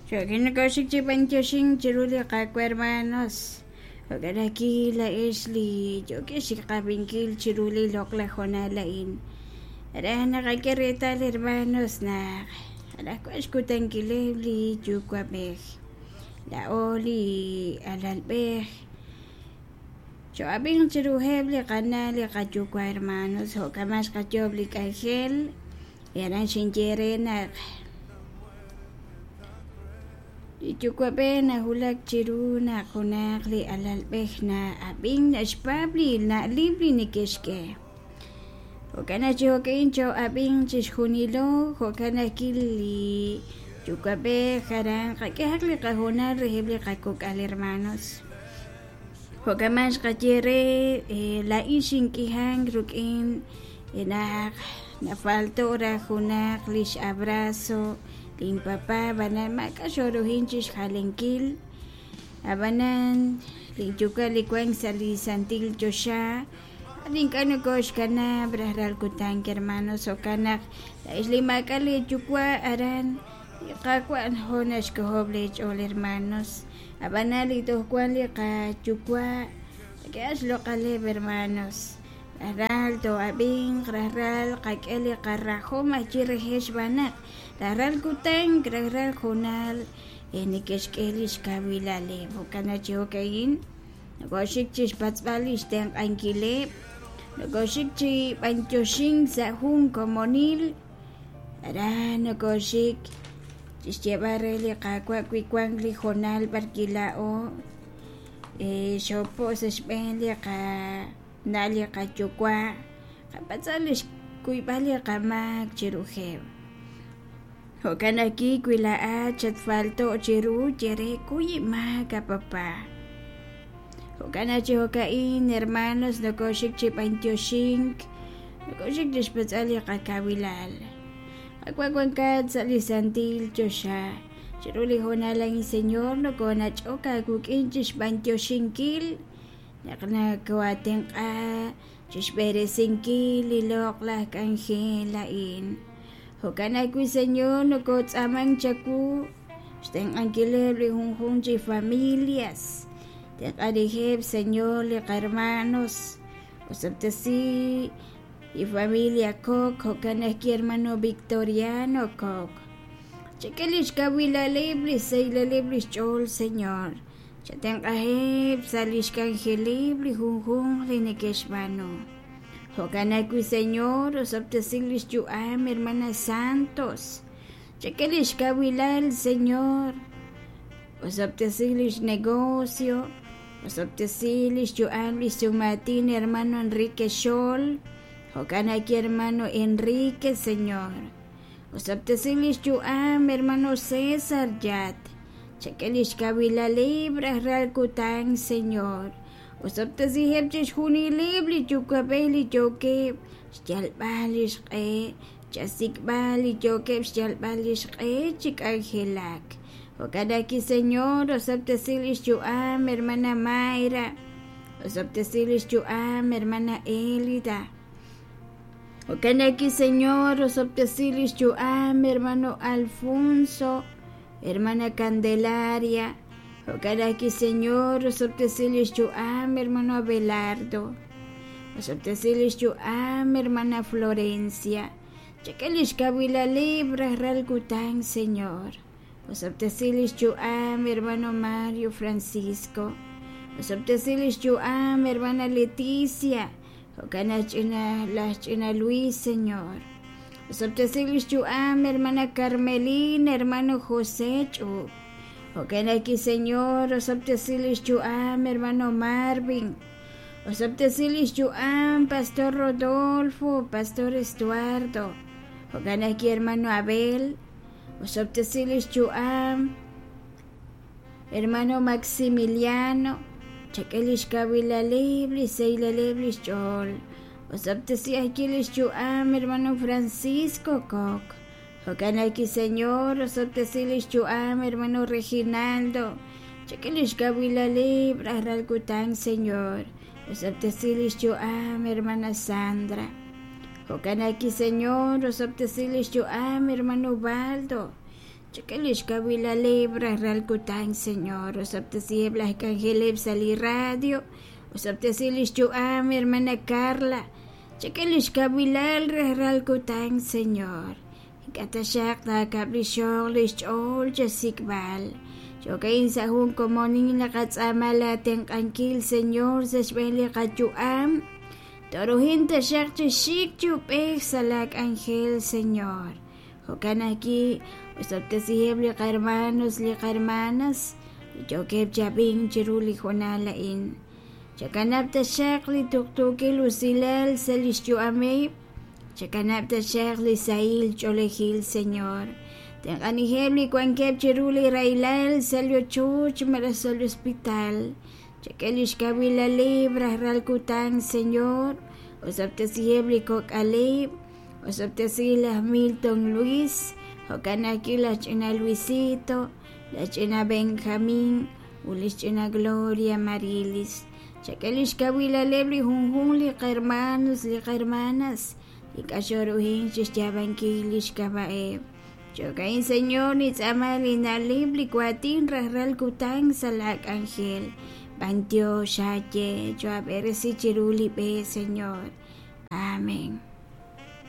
Jo'kan nokoxik chi b'antioxink chiru li Qaawa' hermanos. Jo'kan ajwi' laa'ex li yookex chiqab'inkil chiru li loq'laj hoonal a'in. Aran naqak'e reetal hermanos naq anaqwan xkutankileb' li yuwa'b'ej. Laa'o li alalb'ej Choo'ab'inq chiruheb' li qana' li qayuwa' hermanos, jo'kan xqayoob' li k'anjel y aran xinye re naq li yuwa'b'ej nawulak chiru naq junaq li alalb'ej na'ab'ink naxpaab' li na'leb' li neke'xk'e. Jo'kan naq chi jo'ka'in choo'ab'inq chixjunilo, jo'kan ajwi' li yuwa'b'ej aran qak'ehaq li qahoonal reheb' li qakok'al hermanos. Jo'kan man xqaye re laa'in xink'ihank rik'in naq nafalto' raj junaq lix abrazo lin papá ab'anan maak'a' xooruhin chixjalenkil ab'anan lin yuwa' li wank sa' li santil choxa ink'a' nokoxkanab' rajlal kutan hermanos jo'kan naq laa'ex li maak'a' leeyuwa' aran li Qaawa' jo naxk'ojob' leech'ool hermanos ab'anan li toj wank li qayuwa' qak'ehaq xloq'aleb' hermanos rajlal too'ab'inq rajlal qak'e li qarajom ajwi' reheb' xb'aan naq rajlal kutan rajlal hoonal neke'xk'e li xkawilaleb' jo'kan naq chi jo'ka'in nokoxik chi xpatz'b'al li xtenq'ankileb' nokoxik chi b'antioxink sa' jun komonil aran nokoxik chixyeeb'al re li Qaawa' wi wank li hoonal b'arwi' laa'o xoopo' sa' xb'een li qana' li qayuwa' qapatz'aq li xkuyb'al li qamaak chiruheb'. Jo'kan ajwi' wi laa'at xatfalto' chiru ye re kuy inmaak a papá. Jo'kan naq chi jo'ka'in hermanos nokoxik chi b'antioxink nokoxik chi xpatz'b'al li qakawilal. Qaawa' wankat sa' li santil choxa chiru li hoonal a'in Señor nokonach'ok aawik'in chi xb'antioxinkil naq nakoo'atenq'a chi xb'eresinkil li loq'laj k'anjel a'in. Jo'kan ajwi' Señor nokotz'aamank chawu xtenq'ankileb' li junjunq chi familias. Tenq'anijeb' Señor li qahermanos osob'tesi li familia Coc jo'kan ajwi' hermano Victoriano Coc. Chak'e li xkawilaleb' li xsahilaleb' li xch'ool Señor. Chatenq'aheb' sa' li xk'anjeleb' li junjunq li neke'xb'aanu. Jo'kan ajwi' Señor, osob'tesi li xyu'am hermana Santos. Chak'e li xkawilal Señor. Osob'tesi li xnegocio. Osob'tesi li xyu'am li xsumaatin hermano Enrique Xol. Jo'kan ajwi' hermano Enrique, Señor. Osob'tesi li xyu'am hermano César Yat. Chak'e li xkawilaleb' rajlal kutan, Señor. Osob'tesiheb' chixjunileb' li yuwa'b'ej li yookeb' xyalb'al li xq'e, chasik'b'al li yookeb' xyalb'al li xq'e chi k'anjelak. Jo'kan ajwi', Señor, osob'tesi li xyu'am hermana Mayra, osob'tesi li xyu'am hermana Elida. Jo'kan ajwi', Señor, osob'tesi li xyu'am hermano Alfonso, hermana Candelaria. Jo'kan ajwi', Señor, osob'tesi li xyu'am hermano Abelardo. Osob'tesi li xyu'am hermana Florencia. Chak'e li xkawilaleb' rajlal kutan, Señor. Osob'tesi li xyu'am hermano Mario Francisco. Osob'tesi li xyu'am hermana Leticia. Jo'kan laj ch'ina laj ch'ina Luis, Señor. Osob'tesi li xyu'am hermana Carmelina, hermano José Ch'up. Jo'kan ajwi', Señor, osob'tesi li xyu'am hermano Marvin. Osob'tesi li xyu'am Pastor Rodolfo, Pastor Estuardo. Jo'kan ajwi', hermano Abel. Osob'tesi li xyu'am hermano Maximiliano. Chak'e li xkawilaleb', li xsahilaleb' li xch'ool. Osob'tesi ajwi' li xyu'am hermano Francisco Coc. Jo'kan ajwi', Señor, osob'tesi li xyu'am hermano Reginaldo. Chak'e li xkawilaleb' rajlal kutan, Señor. Osob'tesi li xyu'am hermana Sandra. Jo'kan ajwi', Señor, osob'tesi li xyu'am hermano Baldo. Chak'e lix kawilaleb' rajlal kutan, Señor. Osob'tesiheb' laj k'anjeleb' sa' li radio. Osob'tesi lix yu'am, hermana Carla. Chak'e lix kawilal rajlal kutan, Señor. Ink'a' taxaq taakab'lixoq lix ch'ool chasik'b'al. Jo'ka'in sa' jun komonil naqatz'aama laa tenq'ankil, Señor, sa' xb'een li qayu'am. Tooruhin taxaq chi xik chi ub'ej sa' laa k'anjel, Señor. Jo'kan ajwi', osob'tesiheb' li qahermanos, li qahermanas li yookeb' chi ab'ink chiru li hoonal a'in. Chakanab' taxaq li tuqtuukil usilal sa' lix yu'ameb'. Chakanab' taxaq li sahil ch'oolejil, Señor. Tenq'aniheb' li wankeb' chiru li rahilal sa' li ochoch malaj sa' li hospital. Chak'e lix kawilaleb' rajlal kutan, Señor. Osob'tesiheb' li kok'aleb'. Osob'tesi laj Milton Luis, jo'kan ajwi' laj ch'ina Luisito, laj ch'ina Benjamin, ut lix ch'ina Gloria Marilis. Chak'e lix kawilaleb' li junjunq li qahermanos, li qahermanas, li k'axoruhin chixyaab'ankil lix k'ab'a'eb'. Jo'ka'in, Señor, nintz'aama li na'leb' li waatin rajlal kutan sa' laa k'anjel. B'antiox aaye, choohab'eresi chiru li b'e, Señor. Amén.